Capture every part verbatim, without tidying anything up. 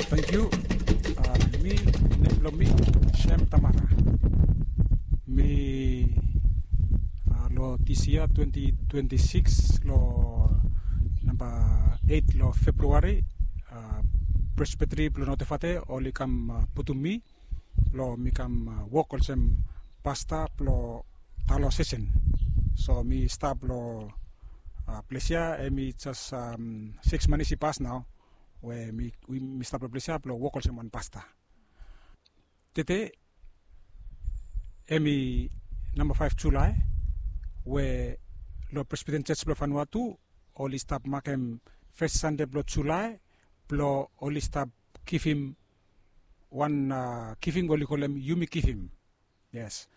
Tangkiu. Mi, nem blong mi Sem Tamara. Mi long dis yia twenti twenti sikis long namba eit long Februari, Presbiteri blong Notefate oli kam putum mi blong mi kam wok olsem pasta blong Talo Sesen. So mi stap long ples ya, hemi jes sikis manis i pas nao we mi stap long ples ya blong wok olsem wan pasta. Tede hemi namba faef Julae, we long Presbiten Jos blong Vanuatu oli stap makem fes Sande blong Julae blong oli stap givim wan givim we oli kolem Yumi Givim. Yes.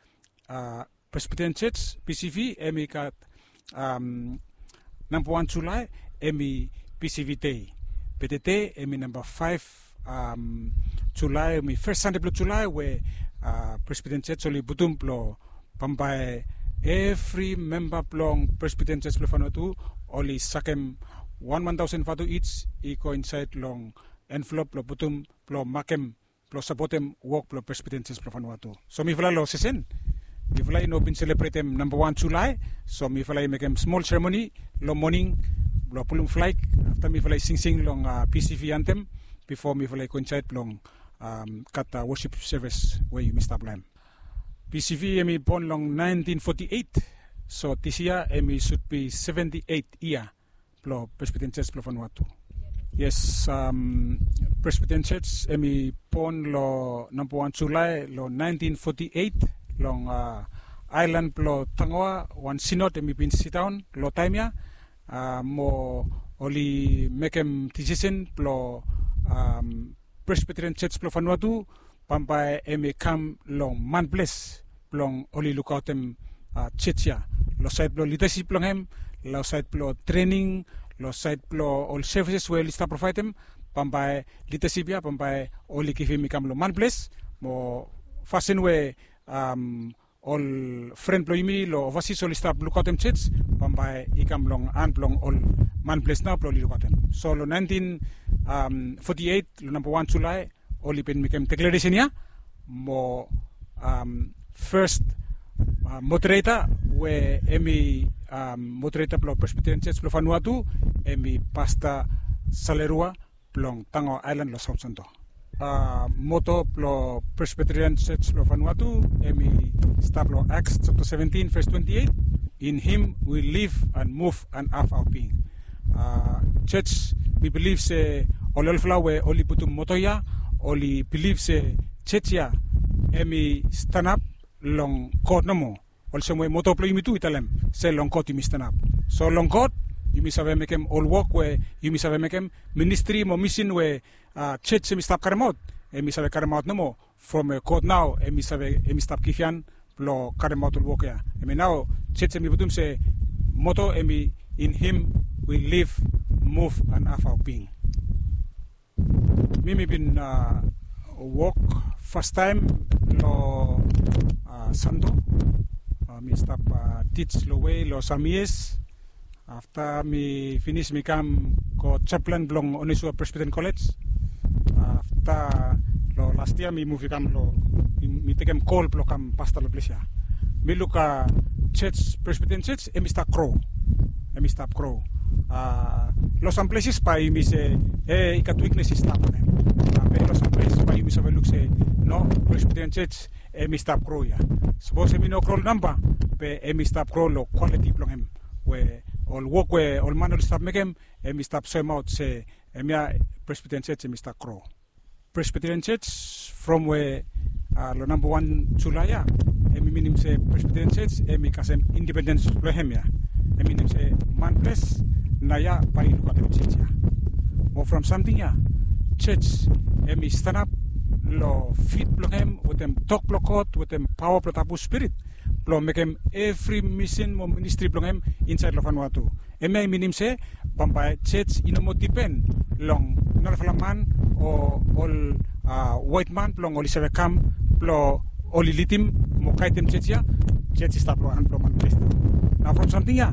Presbiten Jos, PCV, hemi gat namba wan Julae hemi PCV dei. Be tede hemi namba faef Julae, hemi fes Sande blong Julae we Presbiten Jos oli putum blong bambae evri memba blong Presbiten Jos blong Vanuatu oli sakem wan wan taosen vatu ij i go insaed long envelop blong putum blong makem blong sapotem wok blong Presbiten Jos blong Vanuatu. So mifala long Sesen, mifala i no bin selebretem namba wan Julae. So mifala i mekem smol seremoni long moning blong pulum flag, afta mifala i singsing long PCV antem bifo mifala i go insaed blong gat wosip sevis we yumi stap long hem. PCV hemi bon long naentin foti eit. So dis yia hemi sud bi seventi eit yia blong Presbiten Jos blong Vanuatu. Yes. Presbiten Jos hemi bon long namba wan Julae long naentin foti eit long aelan blong Tangoa. Wan sinod hemi bin sidaon long taem ya mo oli mekem disisen blong Presbiten Jos blong Vanuatu bambae hemi kam long manples blong oli lukaotem jos ya long saed blong lidasip blong hem, long saed blong trening, long saed blong ol sevises we oli stap provaedem. Bambae lidasip ya bambae oli givim i kam long manples mo fasin we ol fren blong yumi long ovasis oli stap lukaotem jos bambae i kam long han blong ol manples nao blong oli lukaotem. So long naentin foti eit long namba wan Julae oli bin mekem deklaresen ya mo fes modereta we hemi modereta blong Presbiten Jos blong Vanuatu hemi Pasta Salerua blong Tangoa Aelan long Saut Santo. Moto blong Presbiten Jos blong Vanuatu hemi stap long Acts japta seventin ves twenti eit. In him we live and move and have our being. Jos, mi bilif se ol olfala we oli putum moto ya oli bilif se jos ya hemi stanap long God nomo, olsem we moto blong yumi tu i talem se long God yumi stanap. So long God yumi save mekem ol wok we yumi save mekem, ministri mo misin we jos hemi stap karemaot, hemi save karemaot nomo from we God nao hemi save, hemi stap givhan blong karemaot ol wok ya. Hemi nao jos hemi putum se moto hemi, in him we live, move and have our being. Mi mi bin wok fastaem long Santo. Mi stap tij long we long sam yias. Afta mi finis mi kam go japlan blong Onesua Presbiten Kolej. Afta long las yia mi muv i kam long, mi tekem kol blong kam pasta long ples ya. Mi luk jos, Presbiten Jos hemi stap gro. Hemi stap gro. Long sam pleses bae yumi se e i gat wiknes i stap long hem. Be long sam ples bae yumi save luk se no, Presbiten Jos hemi stap gro ya. Sapos hemi no gro long namba, be hemi stap gro long kwaliti blong hem, we ol wok we ol man oli stap mekem hemi stap soemaot se hemia Presbiten Jos hemi stap gro. Presbiten Jos from we long namba wan Julae ya hemi minim se Presbiten Jos hemi kasem independens blong hem ya. Hemi minim se manples nao ya bae i lukaotem jos ya. Mo from samting ya, jos hemi stanap long fit blong hem wetem tok blong God wetem paoa blong Tabu Spirit blong mekem evri misin mo ministri blong hem insaed long Vanuatu. Hemia i minim se bambae jos i no moa dipen long narafala man o ol waet man blong oli save kam blong oli lidim mo gaedem jos ya. Jos i stap long han blong manples nao. Nao from samting ya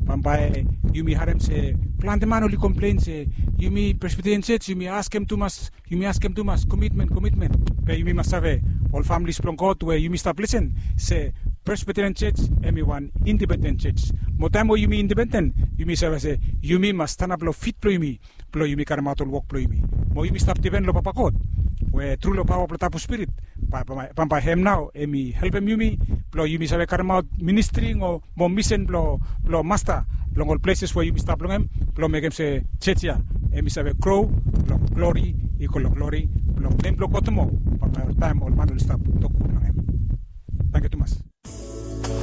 Bambae yumi harem se plante man oli komplen se yumi Presbyterian Church yumi askem tumas, yumi askem tumas komitmen, komitmen. Be yumi mas save, ol familis blong God we yumi stap lisen, se Presbyterian Church em i wan independen church. Mo taem we yumi independen, yumi save se yumi mas stanap long fit blong yumi, blong yumi karemaot ol wok blong yumi. Mo yumi stap dipen long Papa God we tru long paoa blong Tabu Spirit, bambae hem nao em i helpem yumi blong yumi save karemaot ministri o mo misen blong Masta long ol pleses we yumi stap long hem, blong mekem se church ya em i save gro long glori i go long glori blong nem blong God moa. Bambae oltaem ol man oli stap tok gud long hem. Tangkiu tumas.